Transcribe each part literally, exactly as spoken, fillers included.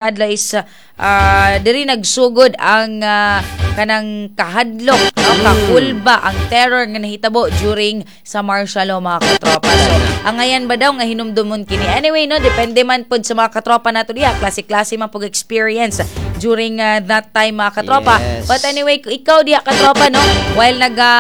Adlaw is uh, diri nagsugod ang ah, kanang kahadlok, no, kakulba, ang terror nga nahitabo during sa martial law, mga katropa. So ang ngayan ba daw nga hinumdumon kini? Anyway, no, depende man pod sa mga katropa nato diha, klase-klase man pug experience during ah, that time, mga katropa. Yes. But anyway, kung ikaw diha, katropa, no, while naga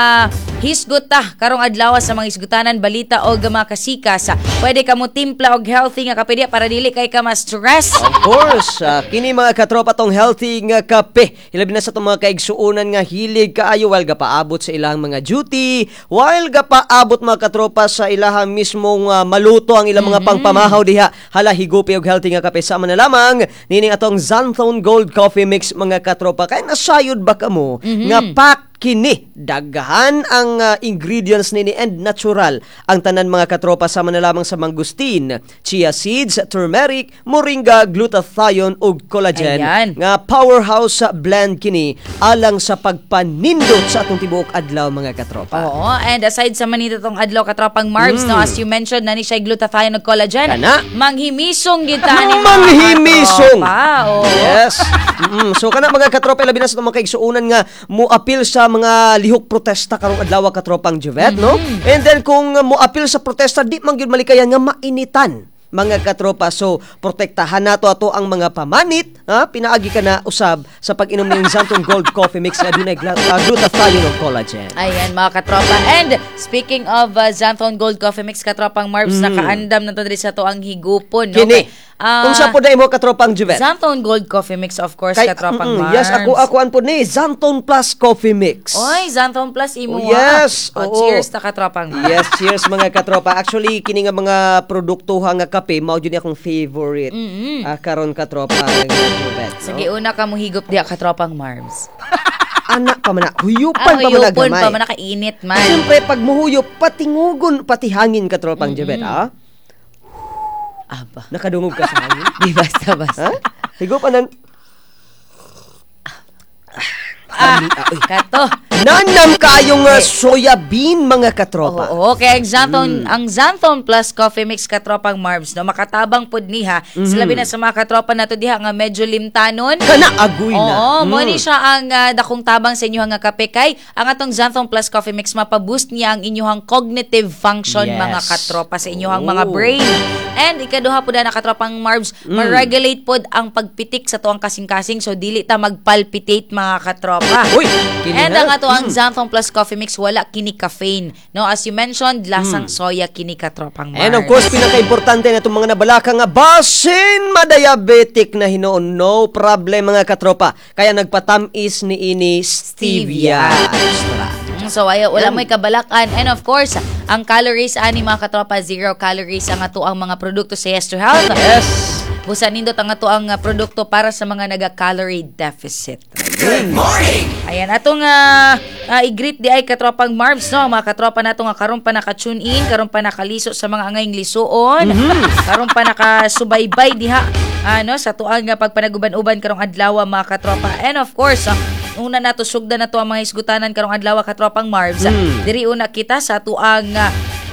hisgot ta karong adlaw sa mga hisgutanan, balita og mga kasikas, pwede ka mo timpla og healthy nga kape diha para dili kay ka ma-stress. Of course, ah, kini, mga katropa, tong healthy nga kape. Ilabi na sa itong mga kaigsuonan nga hilig kaayo while gapaabot sa ilang mga duty, while gapaabot, mga katropa, sa ilahang mismong ah, maluto ang ilang mga pangpamahaw diha. Hala, higupi og healthy nga kape sama na lamang nining atong Xanthone Gold Coffee Mix, mga katropa. Kay nasayod ba kamo nga pack kini, daghan ang ah, ingredients nini and natural ang tanan, mga katropa, sama na lamang sa mangosteen, chia seeds, turmeric, moringa, glutathione ug collagen Ayan. nga powerhouse sa blend kini alang sa pagpanindot sa atong tibuok adlaw, mga katropa. Oo, and aside sa manito tong adlaw, katropang Marbs, no, as you mentioned, nani siya glutathione ug collagen. Kana. Manghimisong gyud ta ni mga Manghimisong. katropa. Oo. Yes. Mm, so kana, mga katropa, labi na sa itong mga kaigsuonan nga mo-apil sa mga lihok protesta karong adlaw, katropang Juvet, no? And then kung mo-apil sa protesta, di man gyud malikayan nga mainitan, mga katropa. So, protektahan nato ato ang mga pamanit, ha? Pinaagi ka na usab sa pag-inom ng Xanthone Gold Coffee Mix nga adunay gla- uh, glutathione ug collagen. Ayan, mga katropa. And speaking of uh, Xanthone Gold Coffee Mix, katropang Marbs, nakaandam na to diri sa to ang higupon. No? Mm. Kini. Ah, Unsa po na imo, katropang Juvet? Xanthone Gold Coffee Mix, of course, Kay- katropang mm, Marbs. Yes, ako ako an po ni Xanthone Plus Coffee Mix. Oy, Xanthone Plus imo. Oh, yes. Oh, Oo. cheers ta, katropang Marbs. Yes, cheers, mga katropa. Actually, kini nga mga produkto nga kape mao jud ni akong favorite. Mm-hmm. Ah, karon, katropa nga Juvet, no? Sige, una ka mo higop diha, katropang Marbs. Anak pa man na, huyupan Ah, pa man na huyupon gamay. pa man, nakainit man. Siyempre, pag muhuyop, patingugon, pati hangin, katropang Juvet, ah. Aba. Nakadungog ka sa hangin? Di basta basta. Ha? Higupan ng Ah, kato. Nanam kayong uh, soya bean, mga katropa. Oo, kaya ang Xanthone, Mm. ang Xanthone Plus Coffee Mix, katropang Marbs, no, makatabang pud niha. Mm-hmm. Sa labi na sa mga katropa nato diha nga medyo limtanon. Kana agoy na. Oo, mo Mm. ni siya ang ah, dakong tabang sa inyong nga kape kay ang atong Xanthone Plus Coffee Mix, mapaboost niya ang inyong cognitive function, Yes. mga katropa, sa inyong mga Oh. brain. And ikaduha pud na, katropang Marbs, Mm. ma-regulate pod ang pagpitik sa tuang kasing-kasing, so dili ta magpalpitate, mga katropa. Uy, kini And ha? ang ato ang Xanthone Plus Coffee Mix, wala kini caffeine. No, as you mentioned, lasang soya kini, katropang Marbs. Mm. And of course, pinaka-importante na itong mga nabalaka nga basin madiabetic na hinuon, no problem, mga katropa. Kaya nagpatamis ni ini stevia. Extra. Mm, So ay, wala mo'y kabalakan. And of course, ang calories ani, mga katropa, zero calories ang ato ang mga produkto sa Yes to Health. Yes. Busa nindot ang ato ang uh, produkto para sa mga naga-calorie deficit. Good morning! Ayan, atong uh, uh, i-greet di ay, katropang Marbs, no? Ang mga katropa nato nga karon pa naka-tune in, karon pa nakaliso sa mga angayng lisuon, karon pa nakasubaybay diha ano sa tuang nga pagpanaguban-uban karong adlaw, mga katropa. And of course, ah, una nato sugdan na to ang mga hisgutanan karong adlaw, katropang Marbs. Diri una kita sa tuang ah,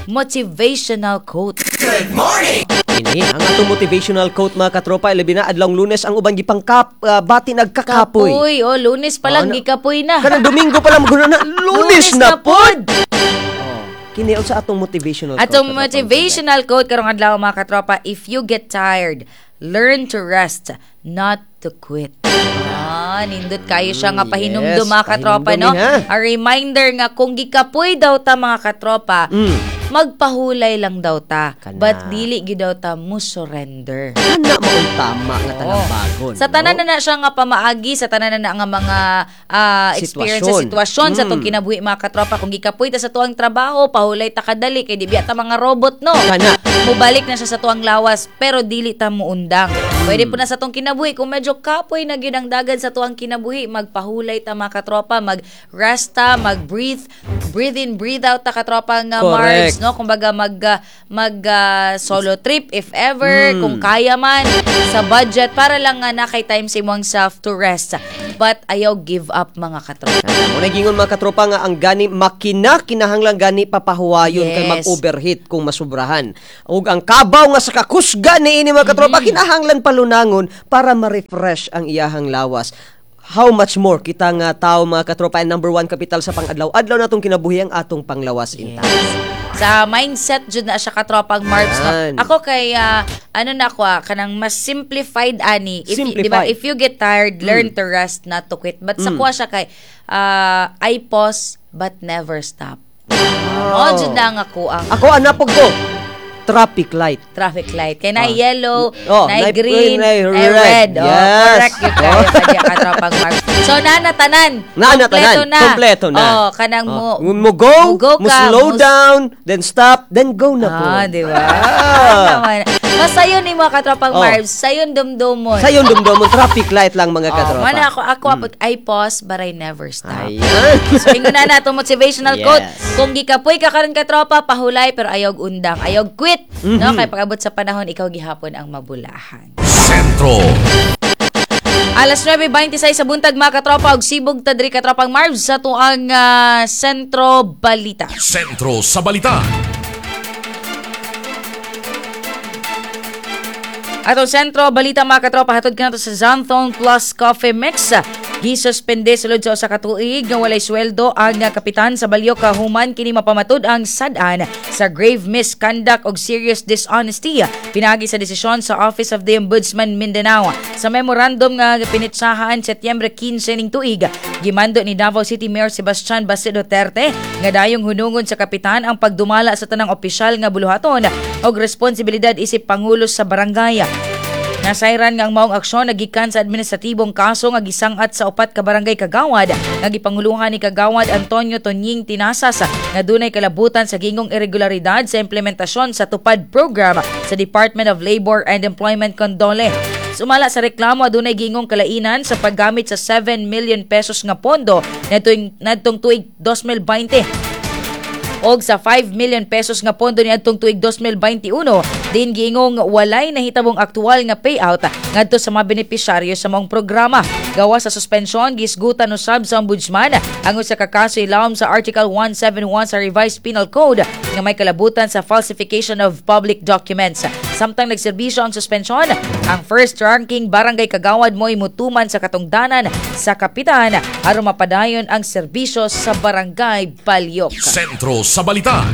motivational quote. Good morning! Ini ang atong motivational quote, mga katropa, ilabi na adlong Lunes, ang uban gipangkap uh, bati nagkakapoy. Kapoy, oh, Lunes pa lang Oh, ano? gikapoy na. Kanang Domingo pa lang magulo na, Lunes na pod. Oh, kini sa atong motivational quote, Atong katropang motivational quote karong adlaw, mga katropa, "If you get tired, learn to rest, not to quit." Ah, nindot kayo siya nga Mm, pahinumdum, yes, mga katropa, no? pahinumdum ha. A reminder nga kung gikapoy daw ta, mga katropa, Mm. magpahulay lang daw ta. Kana. But dili gyud daw ta mo surrender. Kana mao'y tama nga talambagon. Sa tanan no? na na siya nga pamaagi, sa tanan na na nga mga ah, experience sa Sitwasyon. sitwasyon sa Mm. tong kinabuhi, mga katropa, kung gikapoy ta sa tuang trabaho, pahulay ta kadali kay di biya ta mga robot, no. Kana. Mubalik na siya sa tuang lawas pero dili ta muundang. Pwede po na sa tong kinabuhi kung medyo kapoy na gyud ang dagan sa tuang kinabuhi, magpahulay ta, mga katropa, mag-rest ta, mag-breathe, breathe in, breathe out ta, katropa nga Correct. Marbs, no? Kumbaga mag ah, mag ah, solo trip if ever, Mm. kung kaya man sa budget para lang nga na kay time sa imong self to rest. but ayaw give up, mga katropa. Mo na gingon, mga katropa, nga ang gani makina kinahanglan gani papahuwayon kay Yes. mag-overheat kung masubrahan. Ug ang kabaw nga sa kakusga niini, mga katropa, Mm-hmm. kinahanglan palunangon para ma-refresh ang iyahang lawas. How much more kita nga tao, mga katropa, ang number one kapital sa pang-adlaw-adlaw natong kinabuhi ang atong panglawas in Yes. Sa mindset jud na siya, katropang Marbs, no? Yan. Ako kay ah, ano na ako ah, kanang mas simplified ani. If y- di ba, Simplified. if you get tired, learn to rest, not to quit. But sa kuha siya kay ah, I pause but never stop. Oh, jud na nga ako ang Ako anapog ko traffic light. Traffic light. Kay na yellow, Oh, na naay green, naay na red. red. Oh, Yes. correct yun kayo kanya, katropang Marbs. So na tanan. Na na Kompleto tanan. na. Kompleto na. Oh, kanang mo Oh, mo go, mo go mo ka, slow mo- down, then stop, then go na po. Ah, di ba? Ah. Naman. Mas sayon ni mga katropang Oh. Marbs, sayon dumdumon. Sayon dumdumon, traffic light lang, mga Oh, katropa. mana ako ako mm. I pause but I never stop. Ayan. So ingon na na itong motivational Yes. quote. Kung gikapoy ka karon, katropa, pahulay pero ayaw undang, ayaw quit. Mm-hmm. No, kay pag-abot sa panahon, ikaw gihapon ang mabulahan. Sentro. Alas nuwebe bentisiy sa buntag, mga katropa, og sibog ta diri, katropang Marbs, sa tuang ah, Sentro Balita. Sentro sa Balita. Atong Sentro Balita, mga katropa, hatod kanato sa Xanthone Plus Coffee Mix. Gisuspende sulod sa usa ka tuig nga walay sweldo ang kapitan sa Balyok human kini mapamatud ang sad-an sa grave misconduct og serious dishonesty pinaagi sa desisyon sa Office of the Ombudsman Mindanao. Sa memorandum nga pinitsahan Setyembre kinse ning tuig, gimando ni Davao City Mayor Sebastian Basit Duterte nga dayong hunungon sa kapitan ang pagdumala sa tanang opisyal nga buluhaton og responsibilidad isip pangulo sa barangay. Nasayran nga ang maong aksyon nagikan sa administratibong kaso nga gisangat sa upat ka barangay kagawad nga gipanguluhan ni Kagawad Antonio Tonying Tinasas nga dunay kalabutan sa gingong irregularidad sa implementasyon sa Tupad program sa Department of Labor and Employment kon DOLE. Sumala sa reklamo, adunay gingong kalainan sa paggamit sa seven million pesos nga pondo nadtong nadtong tuig dos mil beinte og sa five million pesos nga pondo niadtong tuig dos mil bente-uno din giingong walay nahitabong aktual nga payout ngadto sa mga benepisyaryo sa maong programa. Gawa sa suspensyon, gisgutan usab sa ombudsman ang usa ka kaso ilawom sa Article one seventy-one sa Revised Penal Code nga may kalabutan sa falsification of public documents. Samtang nagserbisyo ang suspensyon, ang first ranking barangay kagawad mo'y mutuman sa katungdanan sa kapitan aron mapadayon ang serbisyo sa Barangay Balyok. Sentro sa Balita.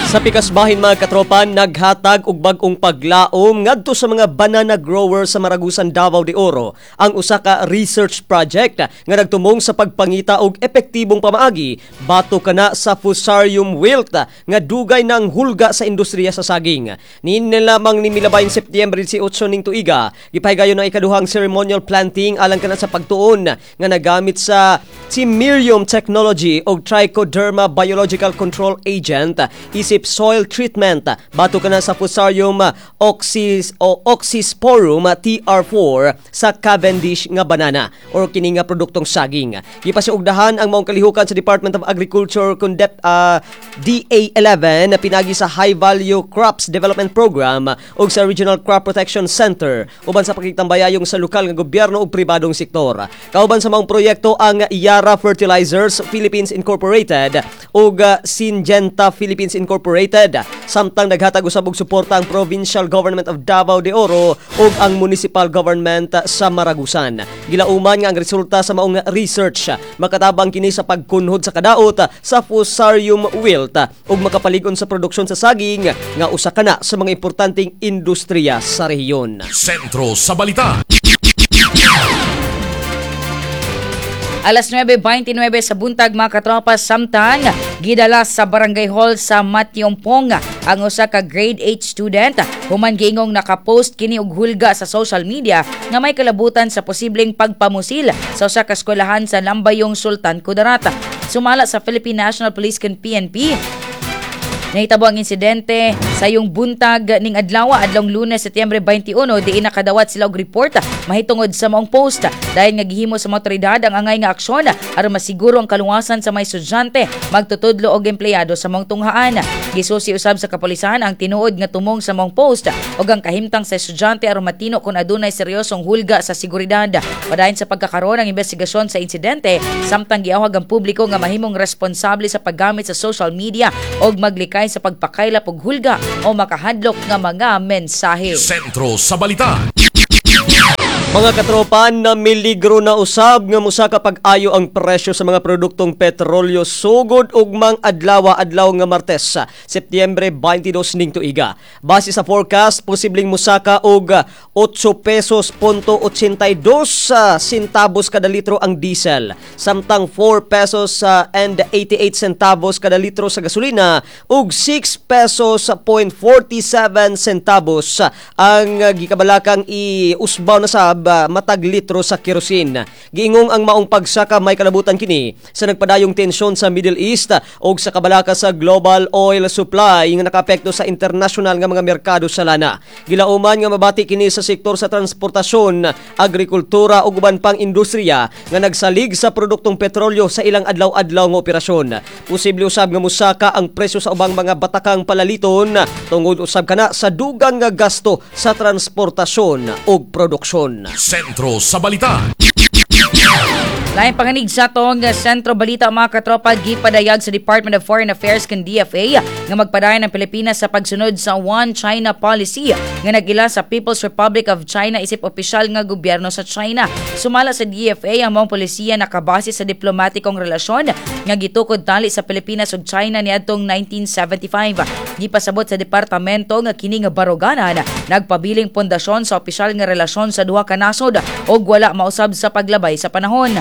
Sa pikas bahin, mga katropa, naghatag og bag-ong paglaom ngadto sa mga banana growers sa Maragusan, Davao de Oro ang usa ka research project nga nagtumong sa pagpangita og epektibong pamaagi batok kana sa Fusarium wilt nga dugay nang hulga sa industriya sa saging. Niini lamang ni milabayn Setyembre labing-otso ning tuiga, gipahigayon ang ikaduhang ceremonial planting alang kana sa pagtuon nga nagamit sa Tymirium technology og Trichoderma biological control agent isip soil treatment batok kana sa Fusarium oxys o oxysporum T R four sa Cavendish nga banana or kini nga produktong saging. Gipasiugdahan ang maong kalihukan sa Department of Agriculture kun Dep, ah, D A eleven na pinagi sa High Value Crops Development Program ug sa Regional Crop Protection Center uban sa pakigtambayayong sa lokal nga gobyerno ug pribadong sektor. Kauban sa maong proyekto ang Yara Fertilizers Philippines Incorporated ug ah, Syngenta Philippines Incorporated, samtang naghatag usab og suporta ang Provincial Government of Davao de Oro ug ang Municipal Government sa Maragusan. Gilauman nga ang resulta sa maong research makatabang kini sa pagkunhod sa kadaot sa Fusarium wilt ug makapalig-on sa produksyon sa saging nga usa kana sa mga importanteng industriya sa rehiyon. Sentro sa Balita. Alas nuwebe bentisiy sa buntag, mga katropa, samtang gidala sa Barangay Hall sa Matyompong ang usa ka grade eight student human giingong nakapost kini og hulga sa social media nga may kalabutan sa posibleng pagpamusil sa usa ka eskwelahan sa Lambayong, Sultan Kudarat. Sumala sa Philippine National Police kon P N P, nahitabo ang insidente sa yung buntag ning adlaw, adlong Lunes, Setyembre bente-uno, diin nakadawat sila og report mahitungod sa maong post. Dahil nga gihimo sa mga otoridad ang angay nga aksyon aron masiguro ang kaluwasan sa mga estudyante, magtutudlo og empleyado sa maong tunghaan. Gisusi usab sa kapolisan ang tinuod nga tumong sa maong post ug ang kahimtang sa estudyante aron matino kung adunay seryosong hulga sa seguridad. Padayon sa pagkakaroon ng investigasyon sa insidente, samtang giawhag ang publiko nga mahimong responsable sa paggamit sa social media ug maglikay sa pagpakaylap og hulga o makahadlok nga mga mensahe. Sentro sa Balita. Mga katropa, namiligro na usab nga musaka pag-ayo ang presyo sa mga produktong petrolyo sugod ugmang adlaw, adlaw nga Martes, Setyembre twenty-two ning tuiga. Base sa forecast, posibleng musaka og otso pesos punto otsentay dos sa centavos kada litro ang diesel, samtang four pesos and eighty-eight centavos kada litro sa gasolina ug six pesos point forty-seven centavos ang gikabalakang iusbaw na sab matag litro sa kerosene. Giingong ang maong pagsaka may kalabutan kini sa nagpadayong tensyon sa Middle East ug sa kabalaka sa global oil supply nga nakaapekto sa international nga mga merkado sa lana. Gilauman nga mabati kini sa sektor sa transportasyon, agrikultura ug uban pang industriya nga nagsalig sa produktong petrolyo sa ilang adlaw-adlaw nga operasyon. Posible usab nga musaka ang presyo sa ubang mga batakang palaliton tungod usab kana sa dugang nga gasto sa transportasyon ug produksyon. Sentro sa Balita. Lain panganig sa atong Sentro Balita, mga katropa, gipadayag sa Department of Foreign Affairs kan D F A nga magpadayon ang Pilipinas sa pagsunod sa One China Policy nga nag-ila sa People's Republic of China isip opisyal nga gobyerno sa China. Sumala sa D F A, ang maong polisiya nakabase sa diplomatikong relasyon nga gitukod tali sa Pilipinas ug China niadtong nineteen seventy-five. Gipasabot sa departamento nga kini nga baruganan nagpabiling pundasyon sa opisyal nga relasyon sa duha ka nasod ug wala mausab sa paglabay sa panahon.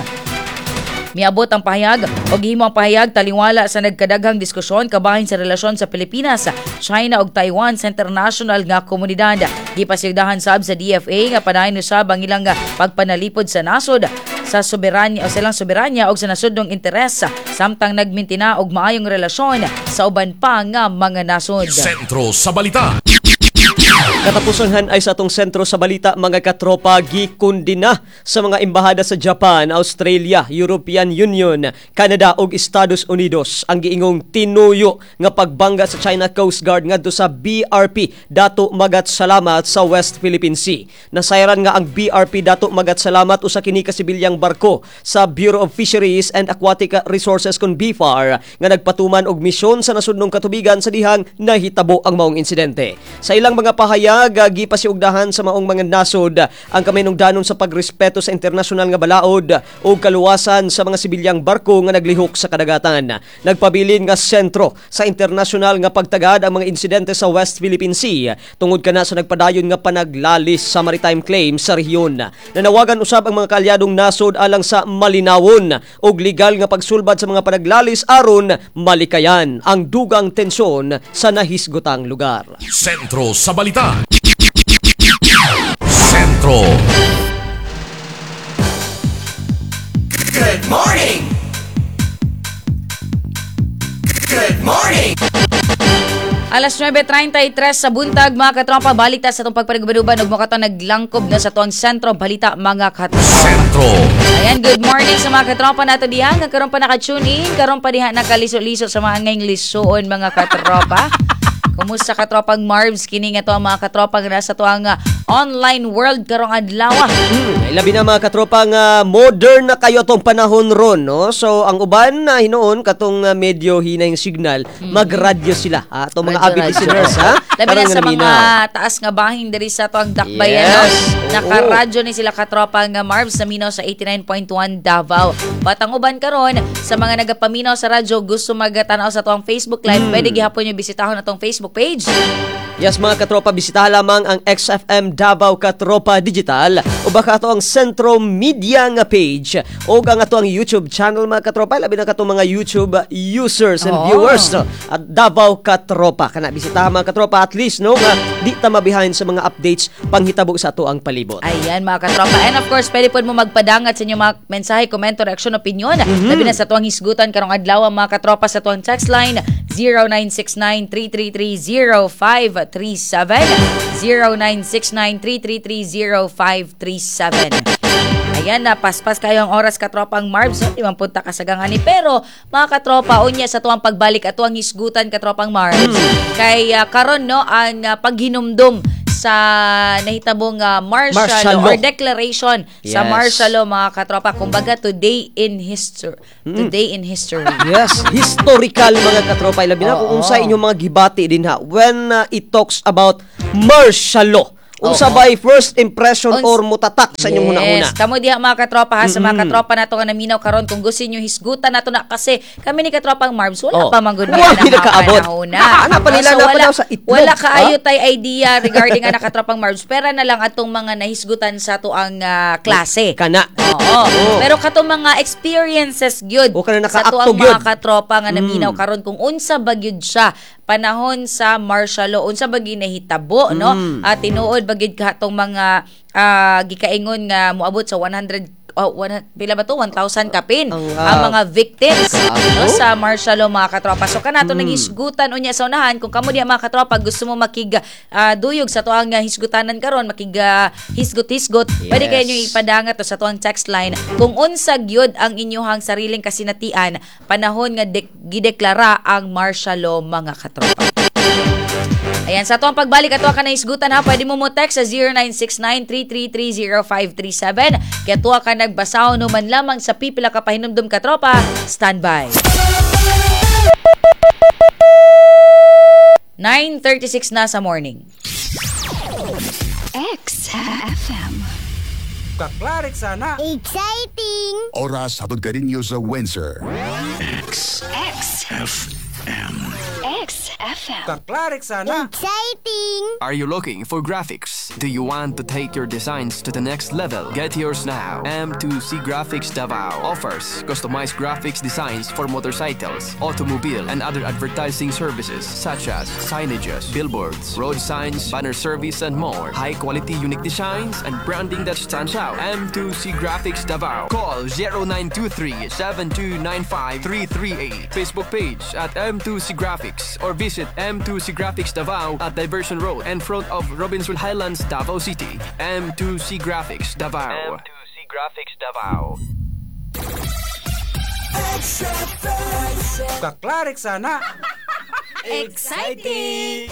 Miabot ang pahayag o gihimo ang pahayag taliwala sa nagkadaghang diskusyon kabahin sa relasyon sa Pilipinas, China ug Taiwan sa international nga komunidad. Gipasigdahan sab sa D F A nga padayon usab ang ilang pagpanalipod sa nasod sa soberanya o silang soberanya og sa nasodnong interes samtang nagmintina og maayong relasyon sa uban pa nga mga nasod. Sentro sa Balita. Katapusan ay sa atong Sentro sa Balita, mga katropa, gikundina sa mga embahada sa Japan, Australia, European Union, Canada ug Estados Unidos ang giingong tinuyo nga pagbangga sa China Coast Guard ngadto sa B R P Dato Magat Salamat sa West Philippine Sea. Nasayran nga ang B R P Dato Magat Salamat usa kini ka sibilyang barko sa Bureau of Fisheries and Aquatic Resources kon B F A R nga nagpatuman og misyon sa nasudnong katubigan sa dihang nahitabo ang maong insidente. Sa ilang mga pahayag, gipasiugdahan sa maong mga nasod ang kaminungdanon sa pagrespeto sa internasyonal nga balaod ug kaluwasan sa mga sibilyang barko nga naglihok sa kadagatan. Nagpabilin nga sentro sa internasyonal nga pagtagad ang mga insidente sa West Philippine Sea tungod kana sa nagpadayon nga panaglalis sa maritime claim sa rehiyon. Nanawagan usab ang mga kaalyadong nasod alang sa malinawon ug legal nga pagsulbad sa mga panaglalis aron malikayan ang dugang tensyon sa nahisgotang lugar. Sentro sa Balita. Sentro. Good morning. Good morning. Alas nuwebe trentay tres sa buntag, mga katropa, balik ta sa atong pagpaniguban ug mo naglangkob na sa atong Sentro Balita, mga katropa. Sentro. Ayan, good morning sa mga katropa nato diha nga karon pa naka-tune in, karon pa diha nakaliso-liso sa mga ngayong lisuon, mga katropa. Kumusta, katropang Marvs, kini nga to ang mga katropa nga nasa tuang ah, online world karong adlaw? Hmm, labi na mga katropa nga modern na kayo atong panahon ron, no? So ang uban na hinuon katong ah, medyo hina yung signal, magradyo sila, ha? Atong mga Radyo, avid radyo. Listeners, ha? Labi na Karon sa nga mga naminaw. Taas nga bahin diri sa tuang Dakbayan, Yes, no? oo. Nakaradyo ni sila, katropa nga Marvs, naminaw sa eighty-nine point one Davao. But ang uban karon sa mga nagapaminaw sa radyo, gusto magatanaw sa tuang Facebook Live, Hmm. pwede gihapon nyo bisitahon atong Facebook page. Yes, mga katropa, bisitahan lamang ang X F M Davao Katropa Digital o baka ato ang Sentro Media nga page o ang ato ang YouTube channel, mga katropa, labi na katong mga YouTube users and Oo. viewers, no? At Davao Katropa kana bisitahan, mga katropa, at least, no, nga di ta mabehind sa mga updates panghitabo sa ato ang palibot. Ayan, mga katropa. And of course, pwede po mo magpadangat sa inyong mga mensahe, komento, reaksyon, opinion. Mhm. Labi na sa tuwang hisgutan karong adlaw, mga katropa, sa tuwang text line zero nine six nine, three three three, zero five three seven, zero nine six nine, three three three, zero five three seven. Ayan na, paspas kayo ang oras, katropang Marbs, no? Di man punta kasagang ani. Pero, mga katropa, unya sa tuwang pagbalik at tuwang hisgutan, katropang Marbs, kay ah, karon no, ang ah, paghinumdum sa nahitabong ah, martial, Martial law law. or declaration sa Yes. martial law, mga katropa. Kumbaga, today in history. Today in history. Yes, historical, mga katropa. Ilabi na kung Oo. unsa inyong mga gibati din ha when uh, it talks about martial law. Unsa Oo. ba first impression Uns- or mutatak sa inyong huna-huna? Yes. Kamo diha, mga katropa, ha, sa mga katropa nato nga naminaw karon, kung gusto niyo hisgutan nato na kasi kami ni Katropang Marbs wala Oh. pa man gud Wala nakaabot. Ana pa nila So, na pa wala, daw sa itlog, wala kaayo ha? tay idea regarding ana, Katropang Marbs. Pera na lang atong mga nahisgutan sa atuang ah, klase. Kana. Oo. Oo. Pero katong mga experiences gyud O, kana sa nakaakto atuang mga gyud. katropa nga naminaw karon kung unsa ba gyud siya panahon sa martial law, unsa ba gyud nahitabo, no? At tinuod ba gyud katong mga ah, gikaingon nga moabot sa one hundred, oh, one, pila ba to, one thousand kapin Ang, ang, ah, mga victims, no, grabe. sa martial law, mga katropa. So kanato mm. nanghisgutan unya sa unahan, kung kamo diha, mga katropa, gusto mo makig ah, duyog sa tuang ah, hisgutanan karon, makig ah, hisgot-hisgot, pwede Yes. kayo nyo ipadangat to sa tuang text line kung unsa gyud ang inyuhang sariling kasinatian panahon nga dek- gideklara ang martial law, mga katropa. Ayan, sa tuang pagbalik ato ka na hisgutan ha, pwede mo mo text sa zero nine six nine, three three three, zero five three seven. Kaya tuwa ka nagbasaw no man lamang sa pipila ka pahinumdum, katropa. Standby. nine thirty-six na sa morning. X F M. Kaklarik sana. Exciting! Oras hatod kaninyo sa Windsor. X F M. X F M. Kaklarik sana. Exciting! Are you looking for graphics? Do you want to take your designs to the next level? Get yours now. M two C Graphics Davao offers customized graphics designs for motorcycles, automobile, and other advertising services such as signages, billboards, road signs, banner service, and more. High quality, unique designs and branding that stands out. M two C Graphics Davao. Call zero nine two three seven two nine five three three eight. Facebook page at M two C Graphics or visit M two C Graphics Davao at Diversion Road in front of Robinson Highlands, Davao City. M two C Graphics Davao. M two C Graphics Davao. Kaklarik sana. Exciting!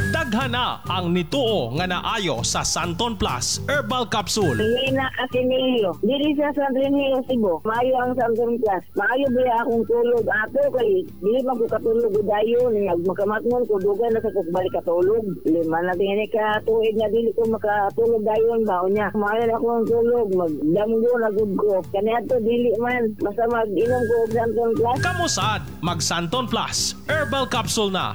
Daghan na ang nituo nga naayo sa Santon Plus Herbal Capsule. Lina Asinilio. Diri sa San Remigio, Cebu. Maayo ang Santon Plus. Maayo ba akong tulog ato kay dili man ko katulog og dayon ug makamatngon ko dugay na sa ko balik katulog. Lima na tingin ka tuig nga dili ko makatulog dayon ba unya. Maayo na akong tulog, magdamgo na gud ko. Kaniadto dili man basta mag-inom ko og Santon Plus. Kamusad, mag Santon Plus Herbal Capsule na.